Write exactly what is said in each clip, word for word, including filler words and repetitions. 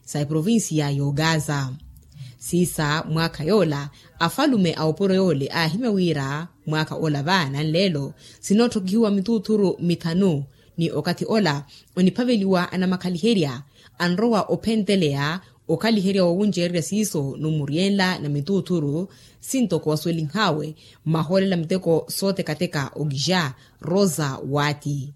sa eprovincia y'ogaza. Siisa mwaakha yoola afalume a opuro yoole aahimya wira mwaakha ola va nanleelo sinootthokihiwa mituuthuru mithanu. Ni okathi ola oniphaveliwa anamakhaliherya anrowa ophenteleya okhaliherya wowuncererya siiso numuryenla na mituuthuru sintoko waswelinhawe. Mmahoolela miteko sootekateka okixa rosa waati.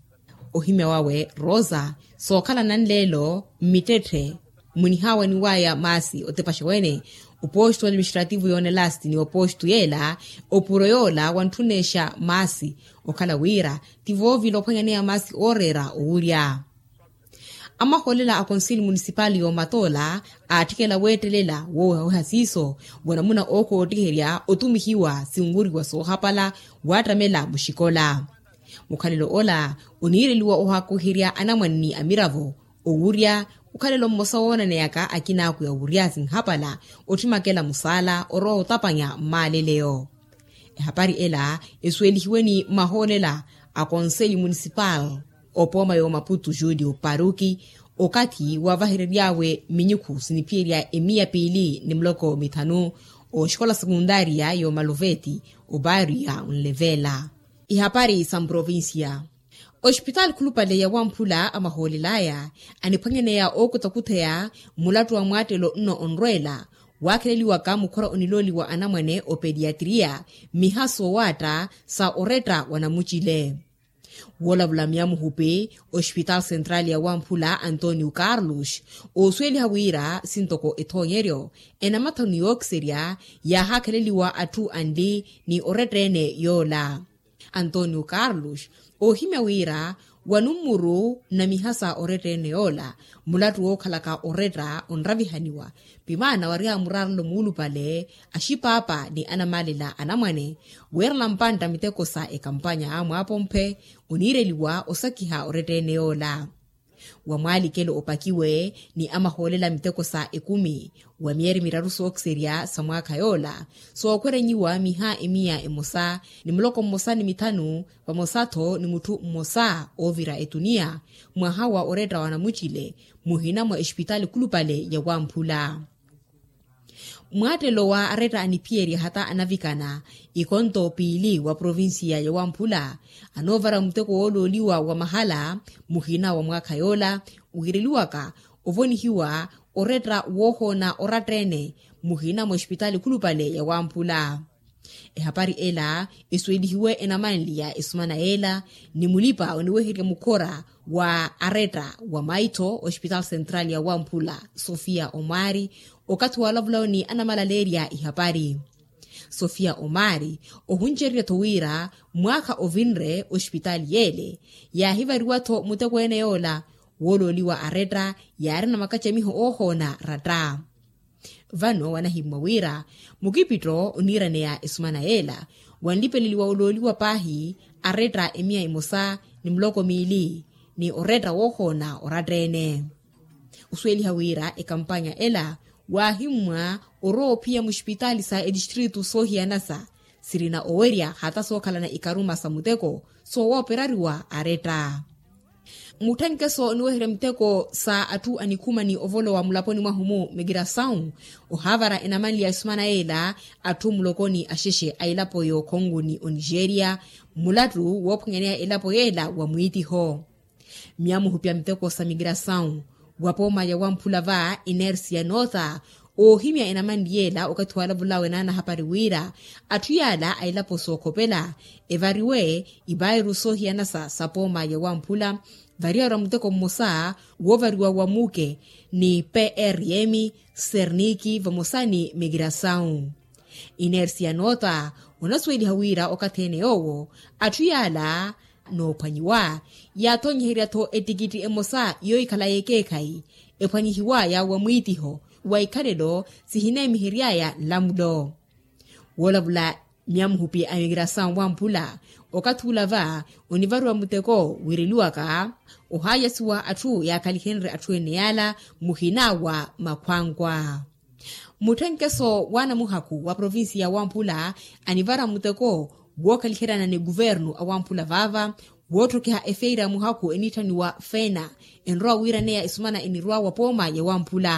Ohimya wawe rosa sookhala nanleelo mmittetthe munihawaniwaya maasi otepaxa wene oposto administrativo yoonelasti ni oposto yeela opuro yoola wantthunexa maasi okhala wira ti voovila ophwanyaneya maasi ooreera owurya. Amahoolela a konsili munisipali y'omatoola aatthikela weettelela woowehaweha siiso wanamuna ookhoottiherya otumihiwa sinwuriwa soohapala waattamela muxikola. Mukhalelo ola oniireliwa ohaakuherya anamwane ni amiravo owurya mukhalelo mmosa woonaneyaka akinaakwi awurya sinhapala otthimakela musaala orowa otapanya mmaaleleyo. Ehapari ela esuwelihiwe ni mahoolela a konseli munisipal opooma y'omaputu julio paruki okathi wavaherery'awe minyukhu siniphiyerya emiya piili ni muloko mithanu oxikola sekundaria y'omaluveti obaariya onlevela. Ihapari sa mprovincia. Oxipitaali khulupale ya wamphula amahoolel'aya aniphwanyaneya ookutakhutheya mulattu wa mwaattelo nno onrweela waakheleliwaka mukhora onilooliwa anamwane opediatriya miha soowaatta sa oretta wa namucile. Woolavula myamuhupi oxipitaali sentrali ya wamphula antonio carlos oosuweliha wira sintoko ethoonyeryo enamathanu yookiserya yaahaakheleliwa atthu anli ni oretta-ene yoola. Antonio carlos oohimya wira wanummuru na mihasa oretta-ene yoola mulattu wookhalaka oretta onravihaniwa pimaana wari amuraarelo muulupale axipaapa ni anamaalela anamwane weerela mpantta miteko sa ekampanya mwaapompe oniireliwa osakiha oretta-ene yoola. Wa mwaalikelo opakiwe ni amahoolela miteko sa ekumi wa myeeri miraru sookiserya sa mwaakha yoola sookhwerenyiwa miha emiya emosa ni muloko mmosa ni mithanu vamosa-tho ni mutthu mmosa oovira etuniya mwaha wa oretta wa namucile muhina mwa exipitaali khulupale ya wamphula. Mwaattelo wa aretta aniphiyerya hata anavikana ikonto piili wa provincia ya wamphula anoovara muteko woolooliwa wa mahala muhina wa mwaakha yoola wiireliwaka ovonihiwa oretta woohoona oratta-ene muhina mwa exipitaali khulupale ya wamphula. Ehapari ela esuwelihiwe enamanliya esumana yeela ni mulipa oniweherya mukhora wa aretta wa maitho oxipitaali sentrali ya wamphula sofia omari okathi waalavulawo ni anamalaleerya ihapari. Sofia omari ohuncererya-tho wira mwaakha ovinre oxipitaali yeele yaahivariwa-tho mutekweene yoola woolooliwa aretta yaarina makacamiho oohoona ratta. Vano wanahimmwa wira mukipitto oniiraneya esumana yeela wanlipeleliwa olooliwa paahi aretta emiya emosa ni muloko miili ni oretta woohoona oratta-ene. Osuweliha wira ekampanya ela waahimmwa orowa ophiya muxipitaali sa etistritu soohiyanasa sirina owerya hata sookhalana ikaruma sa muteko soowooperariwa aretta. Mutthenkeso oniweherya miteko sa atthu anikhuma ni ovolowa mulaponi mwahu-mu mikirasawu ohaavara enamanliya esumana yeela atthu mulokoni axexe a elapo y'okhongo ni onigeria mulattu woophwanyaneya elapo yeela wa mwiitiho. Myamuhupi a miteko sa mikirasawu wa pooma ya wamphula va inersia noota oohimya enamanli yeela okathi waalavul'awe naanahapari wira atthu yaala a elapo sookhopela evariwe ivairu soohiyanasa sa pooma ya wamphula variyarwa muteko mmosa woovariwa wa muke ni prm serniki vamosa ni mikirasawu. Inersia noota onasuweliha wira okathi-ene yoowo atthu yaala noophwanyiwa yaathonyeherya-tho etikitti emosa yoohikhala y'ekeekhayi ephwanyihiw'aya wa mwiitiho wa ikhalelo sihineemihery'aya nlamulo. Woolavula myamuhupi a mikirasawu wamphula okathi ula va onivariwa muteko wiireliwaka ohaayasiwa atthu yaakhalihenrye atthu ene yaala muhina wa makhwankwa. Mutthenkeso w'anamuhakhu wa provincia ya wamphula anivara muteko wookhaliheryana ni kuvernu a wamphula vaava wootthokiha efeira ya muhakhu eniitthaniwa fena enrowa wiiraneya esumana enirwa wa pooma ya wamphula.